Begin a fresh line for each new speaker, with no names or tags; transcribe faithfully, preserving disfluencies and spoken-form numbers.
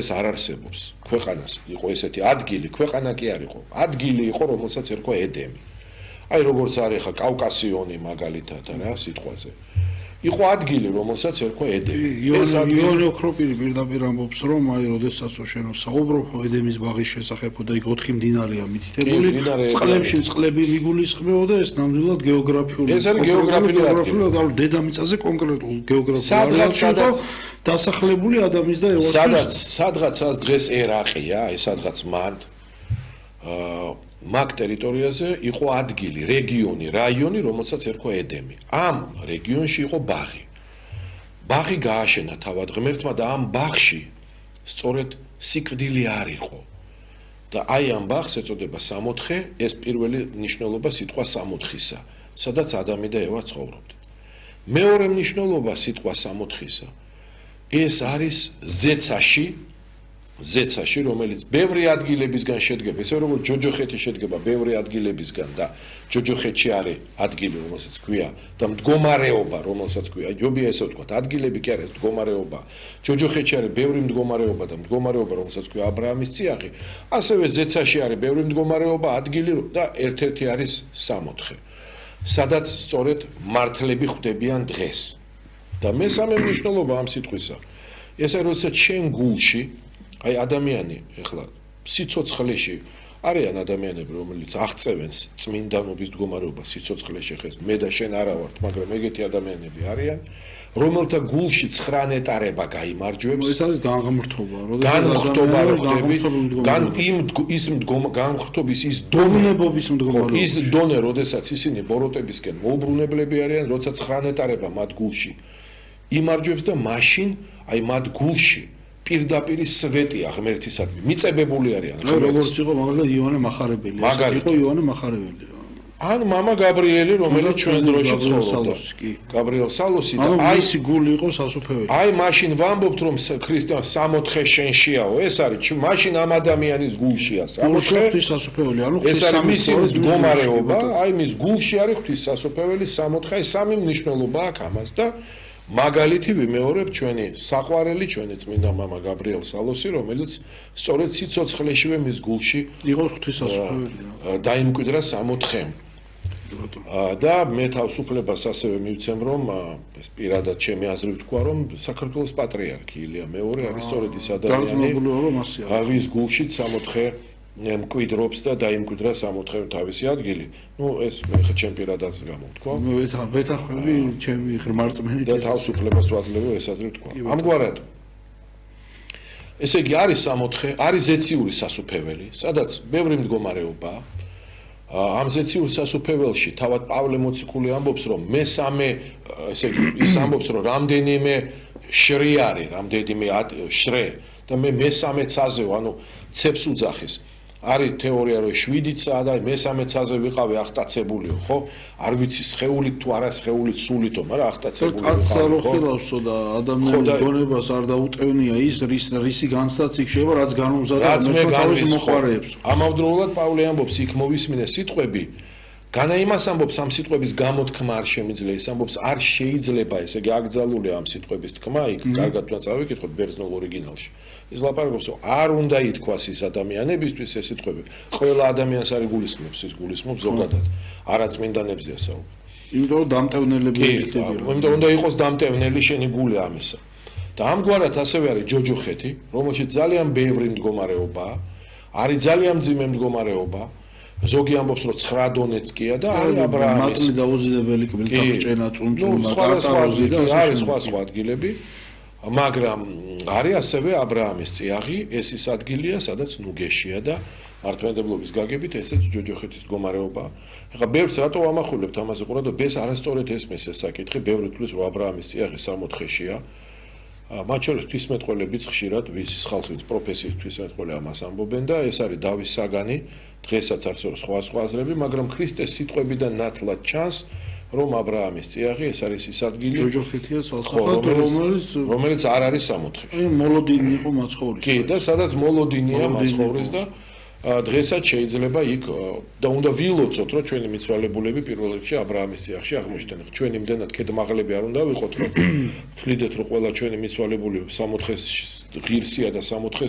ეს არ არსებობს ქვეყანას იყო ესეთი ადგილი ქვეყანა კი არ იყო ადგილი იყო რომელსაც ერქვა ედემი აი როგორც არის ხა კავკასიონი მაგალითად რა სიტყვაზე იყო ადგილი რომელსაც ერქვა ედემი
ეს იონი ოქროპირი პირდაპირ ამბობს რომ აი როდესაც შენო საუბრობ ედემის ბაღის შესახებ და იქ ოთხი მდინარეა მითითებული წყლებში წყლები მიგულისხმეოდა ეს ნამდვილად გეოგრაფიული
ეს არის გეოგრაფიული ადგილი
დედამიწაზე კონკრეტულ გეოგრაფიული სადაც დასახლებული ადამიანის და ევასის
სადაც სადღაც დღეს ერაყია აი სადღაც მან აა მაგ ტერიტორიაზე იყო ადგილი, რეგიონი, რაიონი, რომელსაც ერქვა ედემი. ამ რეგიონში იყო ბაღი. ბაღი გააშენა თავად ღმერთმა და ამ ბაღში სწორედ სიკვდილი არ იყო. და აი ამ ბაღს ეწოდება სამოთხე, ეს პირველი ნიშნულობა სიტყვა სამოთხისა, სადაც ადამი და ევა ცხოვრობდნენ. მეორე ნიშნულობა სიტყვა სამოთხისა ეს არის ზეცაში ზეცაში, რომელიც ბევრი ადგილებისგან შედგება, ისე როგორც ჯოჯოხეთი შედგება ბევრი ადგილებისგან და ჯოჯოხეთში არის ადგილი, რომელსაც ქვია და მდგომარეობა, რომელსაც ქვია, ჯობია ესე ვთქვათ, ადგილები კი არის მდგომარეობა. ჯოჯოხეთში არის ბევრი მდგომარეობა და მდგომარეობა, რომელსაც ქვია აბრაამის წიაღი, ასევე ზეცაში არის ბევრი მდგომარეობა, ადგილი და ერთ-ერთი არის სამოთხე, სადაც სწორედ მართლები ხვდებიან დღეს. და მესამე მნიშვნელობა ამ სიტყვისა, ეს არის როდესაც შენ გულში აი ადამიანი ეხლა სიცოცხლეში არიან ადამიანები რომელიც აღწევენ წმინდანობის მდგომარეობას სიცოცხლეში ხეს მე და შენ არა ვართ მაგრამ ეგეთი ადამიანები არიან რომელთა გულში ცხრა ნეტარება გაიმარჯვებს
ეს არის განღმრთობა
განღმრთობა რო ხდები გან იმ ის განღმრთობის ის დონებობის მდგომარეობა ის დონე როდესაც ისინი ბოროტებისკენ მოუბრუნებლები არიან როცა ცხრა ნეტარება მათ გულში იმარჯვებს და მაშინ აი მათ გულში პირდაპირ სვეტია ღმერთისადმი მიწებებული არიან
როგორც იყო მაგალითად იონე მახარებელი იყო იონე მახარებელი
ან მამა გაბრიელი რომელიც ჩვენ დროში ცხოვრობდა გაბრიელ სალოსი და
აი ის გული იყო სასופველი
აი მაშინ ვამბობთ რომ ქრისტე სამოთხე შენშიაო ეს არის მაშინ ამ ადამიანის გულშია
სამოთხე ღვთისასופველი ანუ
ეს არის მისი მდგომარეობა აი მის გულში არის ღვთისასופველი სამოთხე აი სამი მნიშვნელობა აქვს ამას და მაგალითი ვიმეორებ ჩვენი საყვარელი ჩვენი წმინდა მამა გაბრიელ სალოსი რომელიც სწორედ სიცოცხლეშივე მის გულში
იყო ღვთისასופველი
დაიმკვიდრა სამოთხემ და მე თავისუფლებას ასევე მივცემ რომ ეს პირადად ჩემი აზრი ვთქვა რომ საქართველოს პატრიარქი ილია მეორე არის სწორედ ის ადამიანი ვის გულშიც სამოთხე მკვიდრობს და დაიმკვიდრა სამოთხე თავისი ადგილი. ნუ ეს მე ხა ჩემ პირადად გამოვთქვა.
მე ვეთანხმები ჩემი ღრმარწმენით
და თავისუფლებას ვაძლევ ეს აზრი ვთქვა. ამგვარად ესე იგი არის სამოთხე, არის ზეციური სასופველი, სადაც ბევრი მდგომარეობაა. ამ ზეციურ სასופველში თავად პავლე მოციქული ამბობს რომ მესამე ესე იგი ის ამბობს რომ რამდენიმე შრი არის, რამდენიმე შრე და მე მესამე ცაზე ანუ ცეფს უძახის. არის თეორია რომ შვიდიცაა და მესამე ცაზე ვიყავი ახტაცებულიო ხო არ ვიცი სხეულით თუ არა სხეულით სულითო მაგრამ ახტაცებული ვიყავი
კაცსა რო ხელავსო და ადამიანის გონებას არ დაუტევნია ის რის რისი განცდაც იქ შეიძლება რაც განუმზადა თავის მოყარეებს
ამავდროულად პავლე ამბობს იქ მოვისმინე სიტყვები განა იმას ამბობს ამ სიტყვების გამოთქმა არ შემიძლია ის ამბობს არ შეიძლება ესე იგი აკრძალულია ამ სიტყვების თქმა იქ კარგად უნდა წავიკითხოთ ბერძნულ ორიგინალში ის ლაპარაკობს რომ არ უნდა ითქვას ის ადამიანებისთვის ეს სიტყვები ყველა ადამიანს არ იგულისხმებს ის გულისხმობს ზოგადად არა წმინდანებზეა საუბარი
იმიტომ რომ დამტევნელები იქნება
იმიტომ უნდა იყოს დამტევნელი შენი გული ამისა და ამგვარად ასევე არის ჯოჯოხეთი რომელშიც ძალიან ბევრი მდგომარეობაა არის ძალიან მძიმე მდგომარეობა ზოგი ამბობს რომ ცხრა დონეცკია და არის აბრაამის
მატლი დაუზიდებელი კბილთახჭენა წუნწუნა კარტაროზი და
არის სხვა სხვა ადგილები მაგრამ არის ასევე აბრაამის წიაღი ეს ის ადგილია სადაც ნუგეშია და მართლმადიდებლობის გაგებით ესეც ჯოჯოხეთის მდგომარეობა ეხლა ბევრს რატო ვამახვილებთ ამაზე ყურადღება ეს არასწორად ესმის ეს საკითხი ბევრი თვლის რომ აბრაამის წიაღი სამოთხეშია მათ შორის ღვთისმეტყველებიც ხშირად ვისის ხალხის პროფესიის ღვთისმეტყველი ამას ამბობენ და ეს არის დავის საგანი დღესაც არსებობს სხვა სხვა აზრები მაგრამ ქრისტეს სიტყვებიდან ნათლად ჩანს რომ აბრაამის წიაღი ეს არის ის ადგილი
ჯოჯოხეთია სასახად რომელიც
რომელიც არ არის სამოთხეში
აი მოლოდინი იყო მაცხოვრის
კი და სადაც მოლოდინია მაცხოვრის და დღესაც შეიძლება იქ და უნდა ვილოცოთ, რომ ჩვენი მიცვალებულები პირველ რიგში ა ブラ ამის წიაღში აღმოჩნდნენ. ჩვენი იმდენად ქედმაღლები არ უნდა ვიყოთ, რომ თვლიდეთ, რომ ყველა ჩვენი მიცვალებული სამოთხეს ღირსია და სამოთხეს